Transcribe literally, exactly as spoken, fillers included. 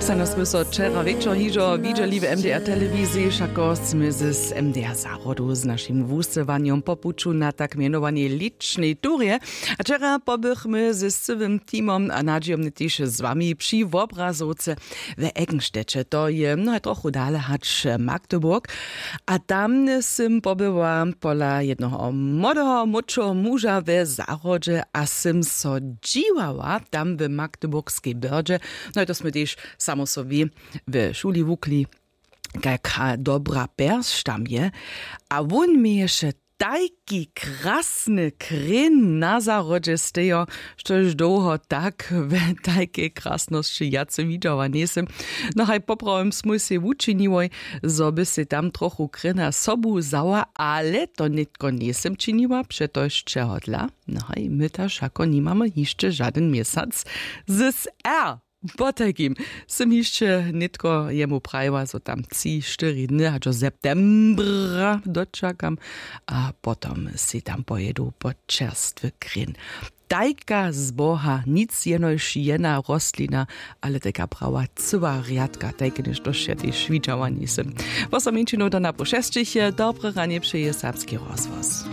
Sano smy so wčera wječor hižo widźeli w M D R telewiziji, wšako smy z M D R zahrodu z našim wusyłanjom po puću na tak mjenowanej lěćnej turje. A wčera pobychmy z cyłym teamom a nadźijomnje tež z wami při wobrazowce w Eggenstedtje. To je mnohe trochu dale hač Magdeburg. A tam sym pobyła pola jednoho młodeho młódšeho muža we zahrodźe a sym so dźiwała tam w magdeburgskej byrdźe. No i to smy tež samo sobi w šuli wukli, kajka dobra pjersć tam je. A wón měješe tajki krasny krěn na zahrodźe stejo, štož dołho tak w tajkej krasnosći wjace widźała njejsym. No haj poprawom smój sej wučiniłoj, zo by sej tam trochu krěna sobu wzała, ale to nětko njejsym činiła přetož čehodla? No haj my ta wšako nimamy hišće žadyn měsac z r. Potajkim sym hišće nětko jemu prajiła zo tam tři štyri dny hač do septembra dočakam, a potom sej tam pojedu po čerstwy krěn. Tajka z boha nic jenož jedna rostlina, ale tajka prawa cyła rjadka tajke něšto wšetej šwidźała njejsym. Wosom mjeńšinow do na po šesćich dobre ranje přeje serbski rozhłos.